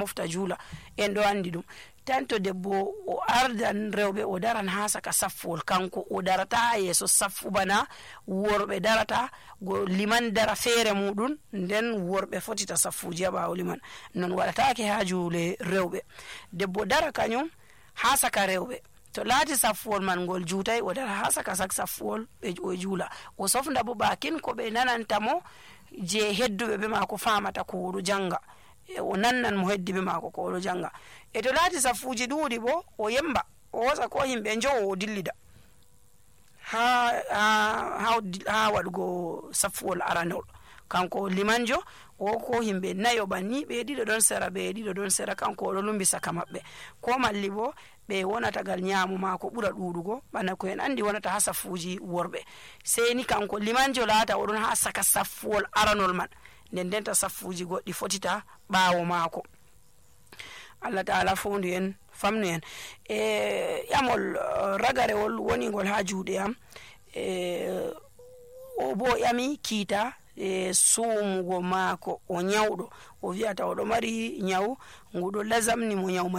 mofta juula, en ɗo andi ɗum. Tan to debbo o ardan rewɓe o daran ha saka saffol, kanko o darata ha yeeso saffu bana worɓe darata, go liman dara feere muɗum, nden worɓe fotita saffuji ha ɓawo liman. Non waɗatake ha juule rewɓe. Debbo dara kañum ha saka rewɓe, to laati saffuwol man ngol juutai, o dara ha saka saffuwol o juula, o sofnda bo bakin ko ɓe nananta mo je hedduɓe be maako famata ko oɗo janga, o nannan mo heddi be maako ko oɗo janga. E to laati saffuji ɗuuɗi bo, o yemba o hosa ko himɓe njowo o dillida ha waɗugo saffuwol aranol. Kanko limanjo o ko himɓe nayo banni, ɓe ɗiɗo ɗon sera, ɓe ɗiɗo ɗon sera, kanko oɗo lumbi saka maɓɓe. Ko malli bo ɓe wonata gal nyaamu maako ɓura ɗuuɗugo bana ko en andi wonata ha saffuji worɓe. Sey ni kanko limanjo laata oɗon ha saka saffuwol aranol man, nden ndenta saffuji goɗɗi fotita ɓaawo maako. Allah ta'ala fondu en, famnu en. Ƴamol ragarewol woni ngol ha juuɗe am, o bo ƴami kiita suumugo maako, o nyawɗo, o wi'ata oɗo mari nyawu nguɗo lasamni mo nyawu mai